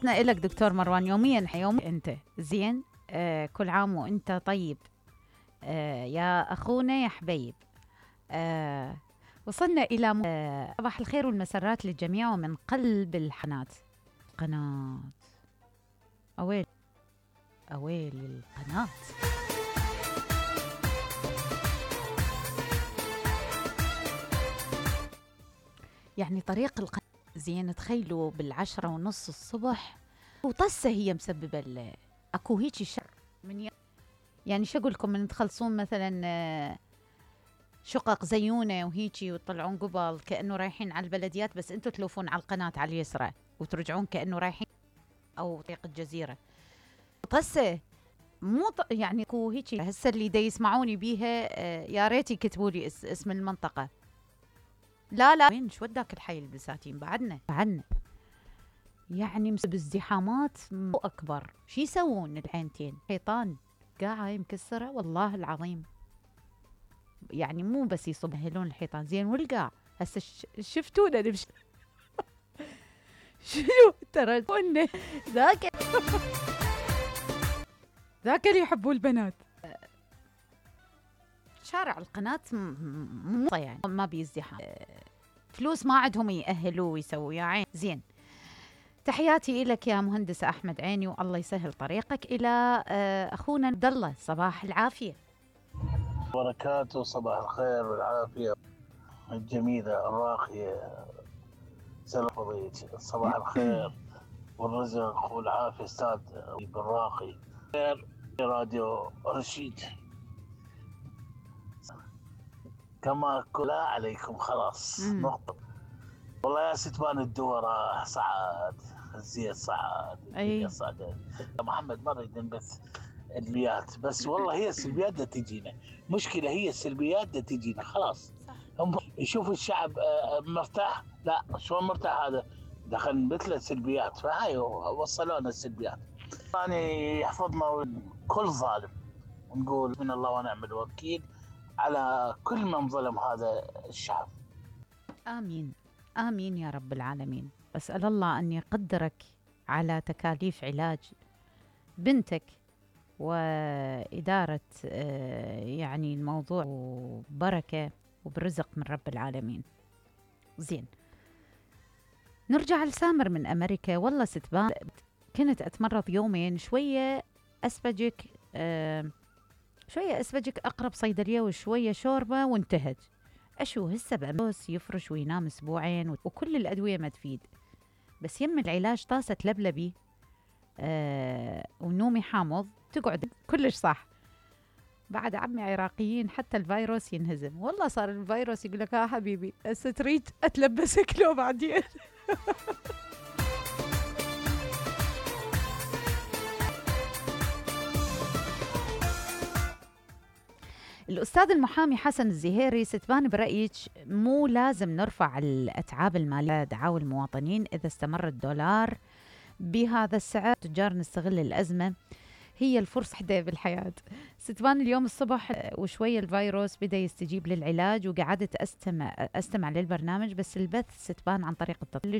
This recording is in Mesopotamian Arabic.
تحياتنا إلك دكتور مروان، يوميا أنت زين. كل عام وأنت طيب. يا أخونا يا حبيب. وصلنا إلى صباح الخير والمسرات للجميع ومن قلب قناة أويل القناة. يعني طريق القناة زين، تخيلوا ب10:30 الصبح وطسة هي مسببة اكو هيجي شر من يعني شو اقول لكم، من تخلصون مثلا شقق زيونه وهيجي وتطلعون قبل كانه رايحين على البلديات، بس انتم تلوفون على القناه على اليسرى وترجعون كانه رايحين او طريق الجزيره. طسه مو يعني اكو هيجي هسه اللي دا يسمعوني بيها يا ريت يكتبوا لي اسم المنطقه. لا وين شو وداك الحي البساتين بعدنا يعني بالازدحامات مو اكبر. شو يسوون العينتين؟ حيطان قاعه مكسره والله العظيم، يعني مو بس يصبهلون الحيطان زين والقاع. هسه شفتونا نمشي شنو ترى قلنا ذاك اللي يحبوا البنات. شارع القناة يعني ما بيزدحام، فلوس ما عندهم يأهلوا ويسووا يا عين. زين، تحياتي لك يا مهندس أحمد عيني، والله يسهل طريقك إلى أخونا عبد الله. صباح العافية وبركاته. صباح الخير والعافية الجميلة الراقية. سلام صباح الخير والرزق والعافية أستاذ بالراقي. خير راديو رشيد كما كلا عليكم خلاص نقطة. والله يا ستبان الدورة صعد الزيت صعد الدنيا صعدت. محمد ما نريد نبث السلبيات، بس والله هي السلبيات دا تجينا مشكلة، هي السلبيات دا تجينا خلاص. هم يشوفوا الشعب مرتاح، لا شلون مرتاح هذا دخل مثل السلبيات، فهاي وصلونا السلبيات. يعني يحفظنا كل ظالم، ونقول من الله ونعم الوكيل على كل من ظلم هذا الشعب. آمين يا رب العالمين. أسأل الله أن يقدرك على تكاليف علاج بنتك وإدارة يعني الموضوع وبركة وبرزق من رب العالمين. زين، نرجع لسامر من أمريكا. والله ستبان كنت أتمرض يومين، شوية أسبجك أقرب صيدلية وشوية شوربة وانتهت. أشو هسه بأمس يفرش وينام أسبوعين وكل الأدوية ما تفيد، بس يم العلاج طاسة لبلبي ونومي حامض تقعد كلش صح. بعد عمي عراقيين حتى الفيروس ينهزم. والله صار الفيروس يقول لك حبيبي هسه تريد أتلبسك لو بعدين الأستاذ المحامي حسن الزهيري، ستبان برأيك مو لازم نرفع الأتعاب المالية دعاوى المواطنين إذا استمر الدولار بهذا السعر؟ تجار نستغل الأزمة، هي الفرصة وحدة بالحياة. ستبان اليوم الصبح وشوية الفيروس بدأ يستجيب للعلاج، وقعدت أستمع للبرنامج، بس البث ستبان عن طريق التطبيق